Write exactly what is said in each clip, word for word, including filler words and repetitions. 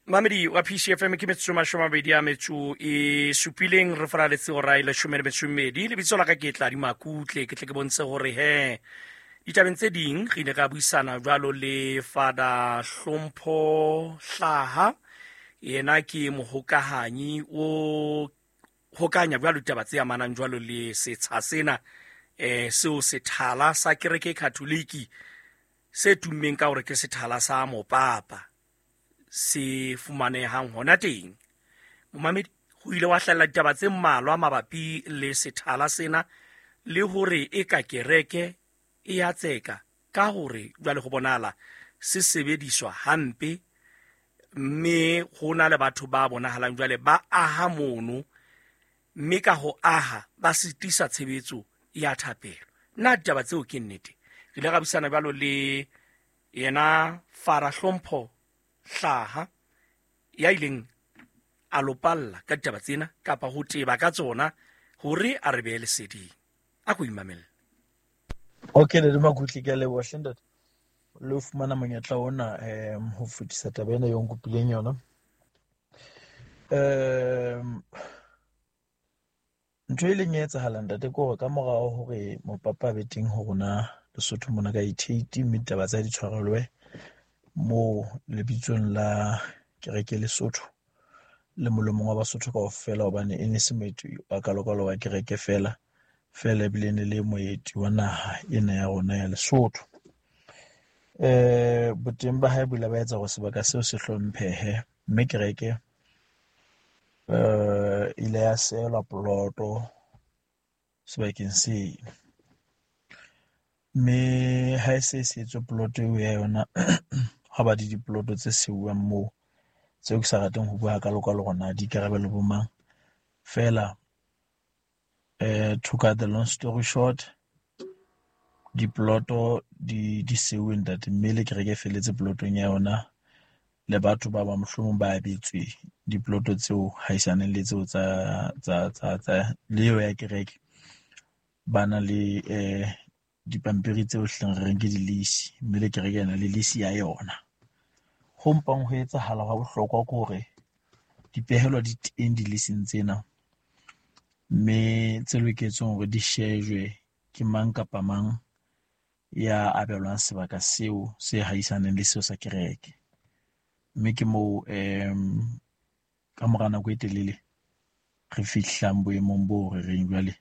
Mamedi wa P C F M ke metsotso mashome a mabedi a metso e supileng re faraletse hora e leshome le metso e mmedi. Lebitso la ka ke Tladi Makutle, ke tle ke bontshe hore he ditabeng tse ding re ile ra buisana jwalo le Father Hlompho Hlaha, yena ke mohokahanyi o hokanya jwalo ditaba tse amanang jwalo le setsha sena, eh seo sethala sa kereke Katoliki se tummeng ka hore ke sethala sa mopapa se fumanehang hona teng. Momamedi, ho ile wa hlahella ditaba tse mmalwa mabapi le sethala sena le hore e ka kereke e ya tseka ka hore jwale ho bonahala se sebediswa hampe, mme ho na le batho ba bonahalang jwale ba aha mono, mme ka ho aha ba sitisa tshebetso ya thapelo. Na ditaba tseo ke nnete? Re ile ra buisana jwalo le yena Father Hlompho Hlaha ya ileng a lopalla ka ditaba tsena kapa ho teba ka tsona hore a re behe leseding. A ko imamelle. Okay, le Makutle, ke a leboha hle ntate. Le ho fumana monyetla ona um ho fetisa taba ena eo nkopileng yona. Um ntho e leng e etsahala ntate ke hore ka morao hore mopapa a be teng ho rona Lesotho mona ka eighty-eight, mme ditaba tsa di tshwarelwe moo lebitsong la kereke Lesotho le molomong wa Basotho kaofela, hobane e ne se moeti wa kalokalo wa kereke fela fela, ebile e ne le moeti wa naha ena ya rona ya Lesotho. Eh boteng ba hae bo ile ba etsa hore sebaka seo se hlomphehe, mme kereke eh ile ya sehelwa poloto sebakeng seno. Mme ha e se e sehetswe poloto eo ya yona, ha ba di dipoloto tse seuwang moo tseo ke sa rateng ho bua hakalo-kalo hore na di ikarabelo bo mang. Feela eh to cut the long story short, dipoloto di di seuwe ntate, mme le kereke e felletse polotong ya yona, le batho ba bang mohlomong ba abetswe dipoloto tseo haisaneng le tseo tsa tsa tsa tsa le eo ya kereke, ba na le eh dipampiri tseo hleng re reng ke di-lease, mme le kereke ena le lease ya yona. Ho mpang ho etsahala hwa bohlokwa ke hore dipehelo di teng di-leasing tsena, mme tse loketseng hore di shejwe ke mang kapa mang ya abelwang sebaka seo se haisaneng le seo sa kereke. Mme ke moo um ka mora nako e telele re fihlang boemong bo re reng jwale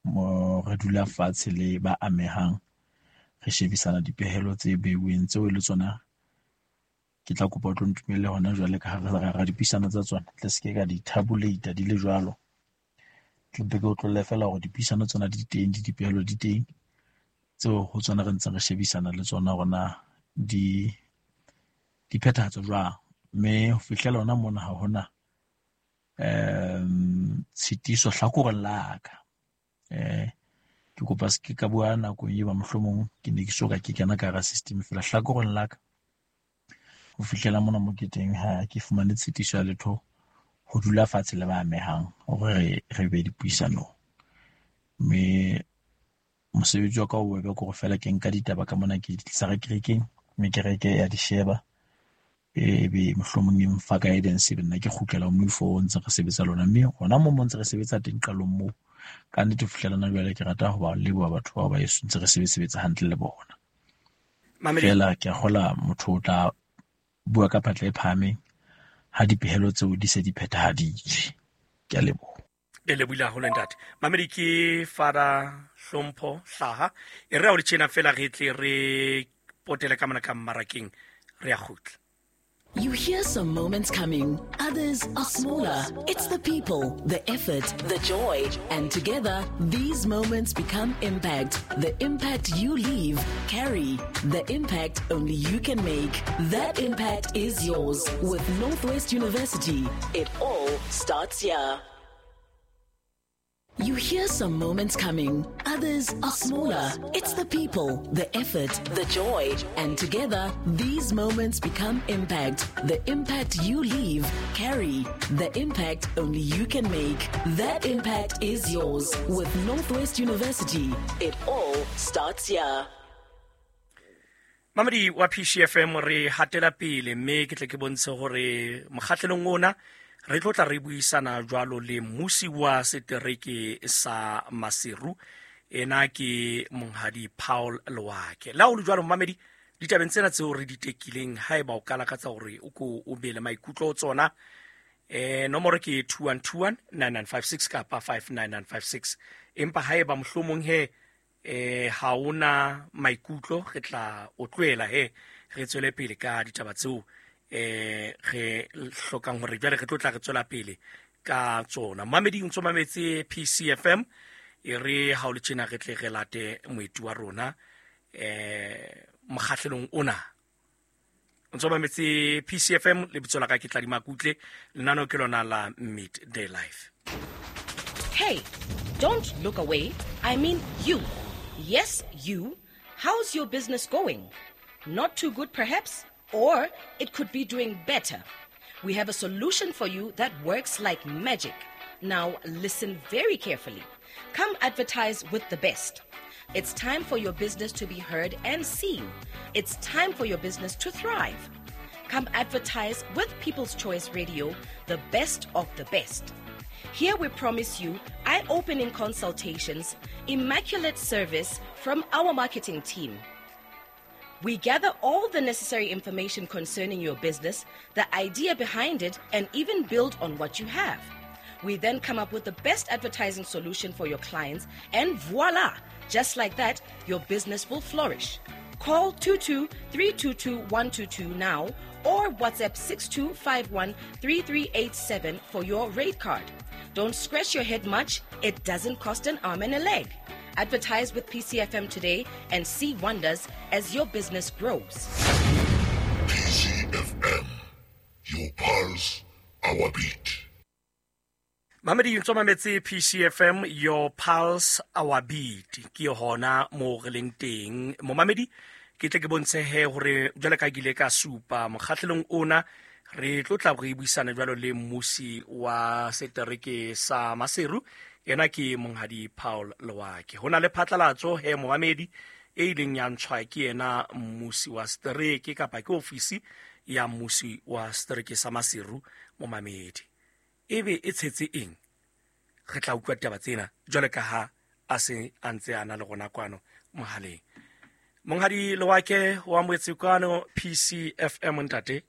mo re dula fatshe le ba amehang, re shebisana dipehelo tse beuweng tseo e le tsona. Ke tla kopa o tlo ntumelle hona jwale ka hare ra dipuisano tsa tsona, tle se ke ka di tabulate di le jwalo. Ke mpe ke o tlohelle fela hore dipuisano tsona di teng, di dipehelo di teng tseo ho tsona re ntseng re shebisana le tsona hore na di di phethahatswa jwang. Mme ho fihlela hona mona ha hona um tshitiso hlakoreng la ka. Eh ke kopa se ke ka bua nakong eo mohlomong ke ne ke soka ke kena ka hara system fela. Hlakoreng la ka ho fihlela mona mo ke teng ha ke fumane tshitiso ya letho ho dula fatshe le ba amehang hore re re be dipuisanong. Mme mosebetsi wa ka o bobebe ke hore fela ke nka ditaba ka mona ke di tlisa re kerekeng, mme kereke ya di sheba, ebe mohlomong e mfa guidance, ebe nna ke kgutlela ho moifo o ntse re sebetsa lona. Mme hona moo mo ntse re sebetsa teng qalong moo, ka nnete ho fihlela hona jwale ke rata ho ba leboha batho bao ba heso ntse re sebetsa hantle le bona. Mamedi. Feela ke a kgola motho o tla bua ka phatla e phahameng ha dipehelo tseo di se di phethahaditswe. Ke a leboha. Le lebohile haholo ntate. Mamedi ke Father Hlompho Hlaha. E re ha o le tjena fela re tle re potele ka mona ka mmarakeng, re a kgutla. You hear some moments coming, others are smaller. It's the people, the effort, the joy, and together, these moments become impact. The impact you leave, carry. The impact only you can make. That impact is yours. With Northwest University, it all starts here. You hear some moments coming, others are smaller. It's the people, the effort, the joy, and together, these moments become impact. The impact you leave, carry. The impact only you can make. That impact is yours. With Northwest University, it all starts here. Mamedi wa P C F M re hatela pele mme ke tle ke bontshe hore mokgahlelong ona re tlo tla re buisana jwalo le mmusi wa setereke sa Maseru, ena ke monghadi Paul Loake. La ho le jwalo mamedi, ditabeng tsena tseo re di tekileng, haeba o ka lakatsa hore o ko o be le maikutlo ho tsona, eh nomoro ke two one two one nine nine five six kapa five nine nine five six. Empa haeba mohlomong he eh ha ona maikutlo, re tla o tlohela he re tswele pele ka ditaba tseo eh re hlokang hore jwale re tlo tla re tswela pele ka tsona. Mamedi o ntso mametse P C F M, e re ha o le tjena re tle re late moeti wa rona eh mokgahlelong ona. O ntso mametse P C F M, lebitso la ka ke Tladi Makutle, lenaneo ke lona la Midday Life. Hey, don't look away. I mean you. Yes, you. How's your business going? Not too good perhaps? Or it could be doing better. We have a solution for you that works like magic. Now listen very carefully. Come advertise with the best. It's time for your business to be heard and seen. It's time for your business to thrive. Come advertise with People's Choice Radio, the best of the best. Here we promise you eye-opening consultations, immaculate service from our marketing team. We gather all the necessary information concerning your business, the idea behind it, and even build on what you have. We then come up with the best advertising solution for your clients, and voila! Just like that, your business will flourish. Call two two three two two one two two now or WhatsApp six two five one three three eight seven for your rate card. Don't scratch your head much. It doesn't cost an arm and a leg. Advertise with P C F M today and see wonders as your business grows. P C F M, your pulse, our beat. Mamedi ntso mametse P C F M, your pulse, our beat. Ke hona mo re leng teng. Momamedi, ke tle ke bontshe he hore jwale ka ke ile ka supa mokgahlelong ona re tlo tla re buisana jwalo le mmusi wa setereke sa Maseru, yena ke monghadi Paul Loake. Ho na le phatlalatso he momamedi e ileng ya ntshwa ke yena mmusi wa setereke kapa ke ofisi ya mmusi wa setereke sa Maseru momamedi. Ebe e tshetse eng? Re tla utlwa ditaba tsena jwale ka ha a se a ntse a na le rona kwano mohaleng. Monghadi Loake wa amohetse kwano P C F M ntate.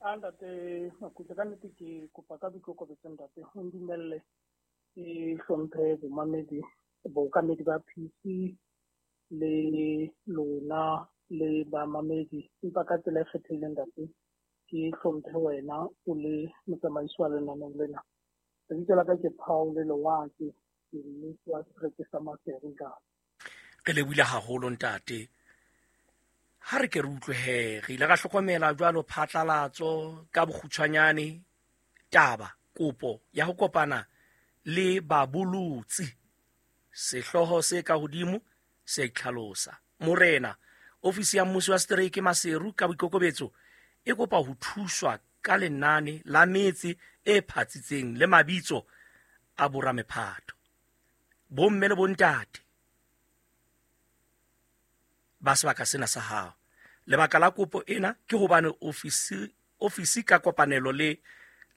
A ntate Makutle, ka nnete ke kopa ka boikokobetso ntate ho ndumelle ke hlomphe bomamedi bookamedi ba P C le lona le bamamedi, empa ka tsela e kgethehileng ntate ke hlomphe wena o le motsamaisi wa lenaneo lena. Lebitso la ka ke Paul Loake, ke mmusi wa setereke sa Maseru ntate. Re lebohile haholo ntate. Ha re ke re utlwe he, re ile ra hlokomela jwalo phatlalatso ka bokgutshwanyane taba kopo ya ho kopana le babolotsi. Sehlooho se ka hodimo se itlhalosa. Morena, ofisi ya mmusi wa setereke Maseru ka boikokobetso e kopa ho thuswa ka lenane la metse e phatsitseng le mabitso a boramephatho, bomme le bontate ba sebaka sena sa hao. Lebaka la kopo ena ke hobane ofisi ofisi ka kopanelo le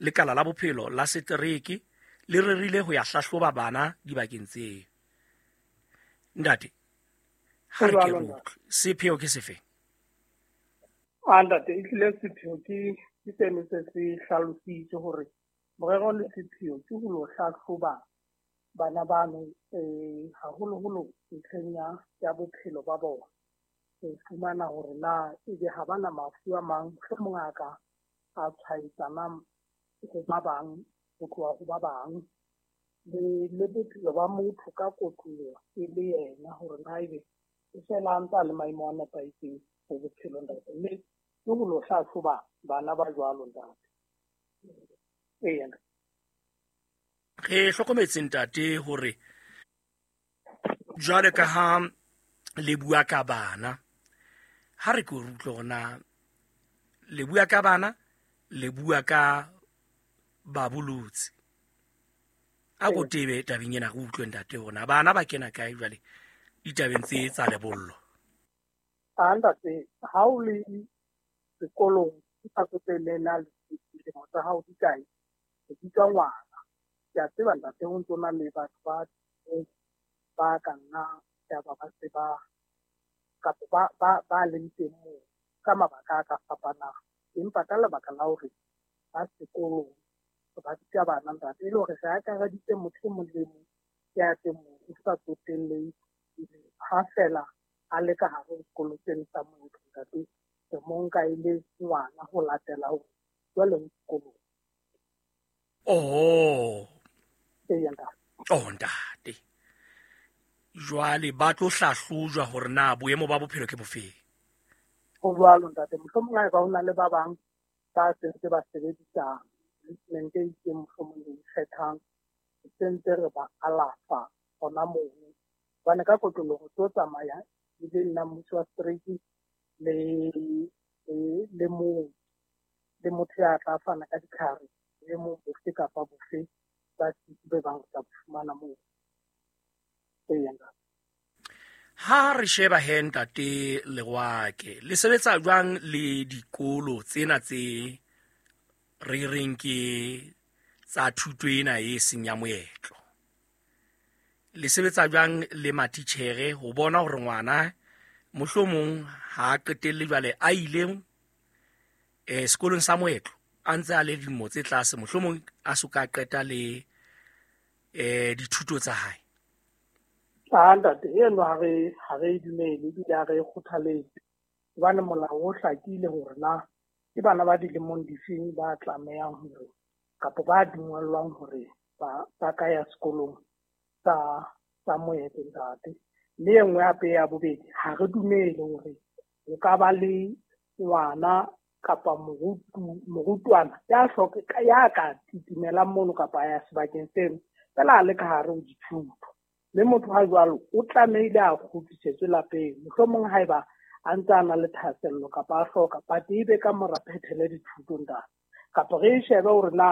lekala la bophelo la setereke le rerile ho ya hlahloba bana dibakeng tseo. Ntate, ha re ke re utlwe, sepheo ke sefe? A ntate, ehlile sepheo ke ke seno se se hlalositse hore morero le sepheo ke ho lo hlahloba bana bano eh haholoholo ntlheng ya ya bophelo ba bona, ho fumana hore na ebe ha bana mafu a mang mohlomong a ka a tshwaetsanang ho ba bang ho tloha ho ba bang, le le bophelo ba motho ka kotloloho e le yena hore na ebe e fela a ntse a le maemo a nepahetseng ho bophelo ntate. Mme ke ho lo hlahloba bana ba jwalo ntate. Eya. Re hlokometse ntate hore jwale ka ha le bua ka bana, ha re ke re utlwe hore na le bua ka bana, le bua ka babolotsi. A ko tebe tabeng ena re utlwe ntate hore na bana ba kena kae jwale ditabeng tse tsa lebollo. A ntate, ha o le sekolong o sa tsotelle na dilemo tsa hao di kae, o bitswa ngwana. Ke a tseba ntate ho ntso na le batho ba ba ka nna ya ba ba se ba kapa ba ba ba leng teng moo ka mabaka a ka fapanang. Empa ka lebaka la hore ba sekolong ba bitsa bana ntate, e le hore re akareditse motho e mong le e mong ya teng moo, o sa tsotelle ha fela a le ka hare ho sekolo seno sa moetlo ntate, re mo nka e le ngwana ho latela hore jwale o sekolong. Oho. Eya ntate. Oh ntate, jwale ba tlo hlahlojwa hore na boemo ba bophelo ke bofeng. Ho jwalo ntate, mohlomong haeba ho na le ba bang ba sentse ba sebedisa treatment e itseng mohlomong e ikgethang, re sentse re ba alafa hona mono. Hobane ka kotloloho tlo tsamaya e le nna mmuso wa setereke le le mong le motho ya tla fana ka ditlhare le mong bofe kapa bofe ba be bang re tla bo fumana moo. Eya ntate. Ha re sheba he ntate Lerwake, le sebetsa jwang le dikolo tsena tse re reng ke tsa thuto ena e seng ya moetlo? Le sebetsa jwang le matitjhere ho bona hore ngwana mohlomong ha a qetelle jwale a ile eh sekolong sa moetlo a ntse a le dilemo tse tlase, mohlomong a so ka qeta le eh dithuto tsa hae? A ntate, eno ha re ha re e dumele ebile ha re e kgothaletse, hobane molao o hlakile hore na ke bana ba dilemong difeng ba tlamehang hore kapa ba dumellwang hore ba ba ka ya sekolong sa sa moetlo ntate. Mme e nngwe hape ya bobedi, ha re dumele hore o ka ba le ngwana kapa morutu morutwana ya hloka ya ka titimelang mono kapa ya sebakeng seno fela a le ka hare ho dithuto. Mme motho ha jwalo o tlamehile a kgutlisetswe lapeng, mohlomong haeba a ntse a na le thahasello kapa a hloka, but ebe ka mora phethele dithuto ntate. Kapa re e shebe hore na